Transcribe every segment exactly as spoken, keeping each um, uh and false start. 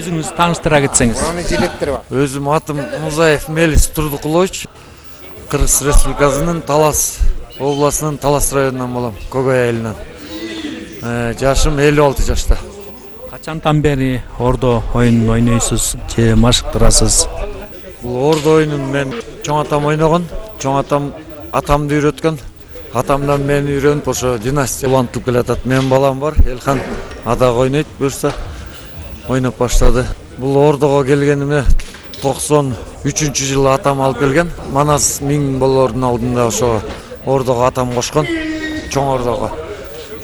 өзүңүз тааныштыра кетсеңиз. Өзүм атым Музаев Мелис Турдукулович. Кыргыз Республикасынын Талас областынын Талас районунан болом, Когой айылынан. Жашым элүү алты жашта. Качантан бери ордо оюнун ойнойсуз же машыктырасыз? Бул ордо оюнун мен чоң атам ойногон. Чоң атам атамды үйрөткөн. Атамдан мени үйрөнүп ошо династия улантып келатат. Мен балам бар, Элхан адагы ойнойт, буюрса ойноп баштады. Бул ордого келгениме токсон үчүнчү жылы атам алып келген. Манас миң болоордун алдында ошо ордого атам кошкон, чоң ордого.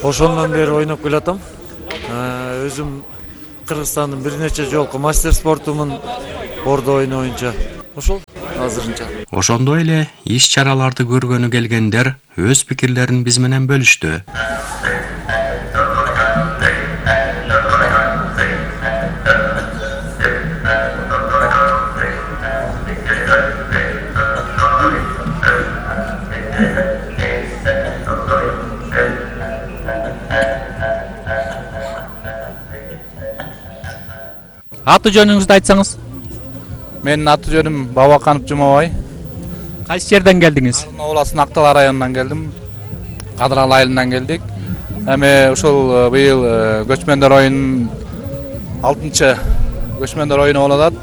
Ошондон бери ойноп келатам. Өзүм Кыргызстандын бир нече жолку мастер спортумун ордо ойну боюнча. Ошол азырынча. Ошондой эле иш-чараларды көргөнү келгендер өз пикирлерин биз менен бөлүштү. Аты жөнүңүздү айтсаңыз? Менин аты жөнүм Бабаканов Жумабай. Кайсы жерден келдиңиз? Областын Актал районунан келдим. Кадырал айылынан келдик. Эми ушул быйыл көчмөндөр оюнунун алтынчы көчмөндөр оюну болуп атат.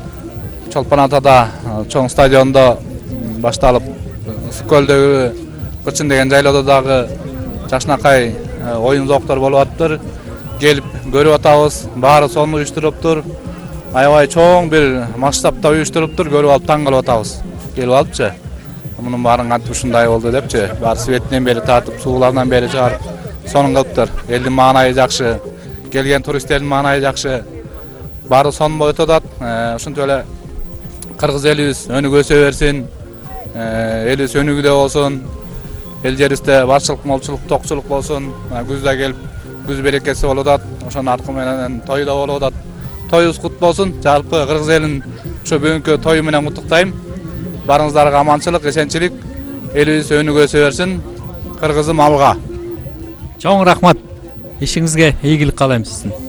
Чолпон Атада чоң стадиондо башталып, Ысык-Көлдөгү Кырчын деген жайлоодо дагы жакшынакай оюн зоктор болуп атыптыр. Келип көрүп атабыз. Баары сонун уюштуруптур. Аябай чоң бир масштабта уюштуруптур, көрүп алып таң калып атабыз. Келип алыпчы. Мунун баарын кантип ушундай болду депчи, баары светинен бери тартып, сууларынан бери чыгарып сонун кылыптыр. Элдин маанайы жакшы, келген туристтердин маанайы жакшы. Баары сонун болуп атат. Ушинтип эле кыргыз элибиз өнүгө өсө берсин. Элибиз өнүгүүдө болсун. Эл жерибизде барчылык, молчулук, токчулук болсун. Күздө келип, күз берекеси болуп атат. Ошонун аркы менен той да болуп атат. Тоюбуз кут болсун. Жалпы кыргыз элин ошо бүгүнкү тою менен куттуктайм. Барыңыздарга аманчылык, эсенчилик, элибиз өнүгө өсө берсин. Кыргызым алга. Чоң рахмат. Ишиңизге ийгилик каалайм сиздин.